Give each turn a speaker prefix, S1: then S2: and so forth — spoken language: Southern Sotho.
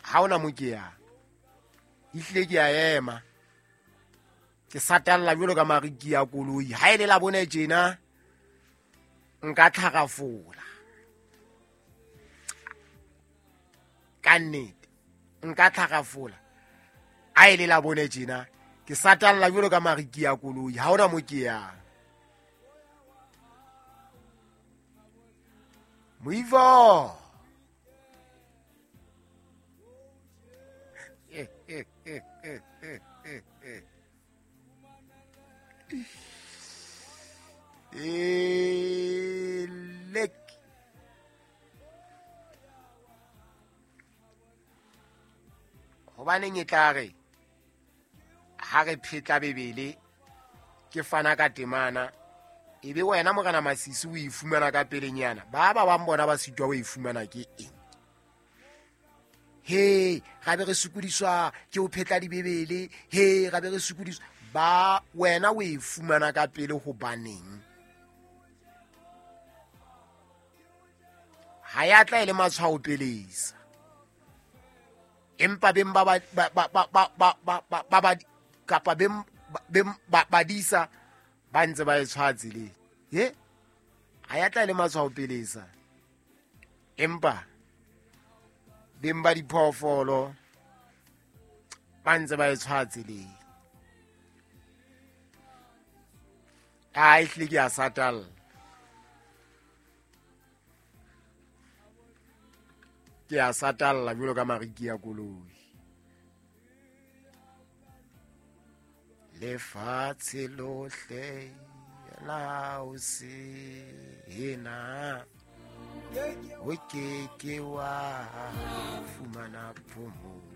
S1: Ha ona mo ke yang, ehlile ke a ema, ke satalla jwalo ka mariki ya koloi. Ha e le la bone tjena nka tlhagafola ka nnete, nka tlhagafola. Ha e le la bone tjena ke satalla jwalo ka mariki ya koloi. Ha ona mo ke yang. Moivo. Elek. Hobaneng e tla re ha re phetla Bebele ke fana ka temana, e be wena Morena Masisi o e fumana ka pelenyana, ba ba bang bona ba sitwa ho e fumana ke eng? He, ra be re sokodiswa ke ho phetla dibebele, he ra be re sokodiswa ba wena o e fumana ka pele hobaneng? Ha ya tla e le matshwao pelesa, empa beng ba ba ba ba ba ba ba ba ba ba ba kapa beng beng ba badisa ba ntse ba e tshwaya tseleng. He, ha ya tla e le matshwao pelesa, empa beng ba diphoofolo ba ntse ba e tshwaya tseleng. A ehlile ke a satalla. Ke a satalla jwalo ka mariki ya koloi. Lefatshe lohle la o sena, o ke ke wa fumana phomolo.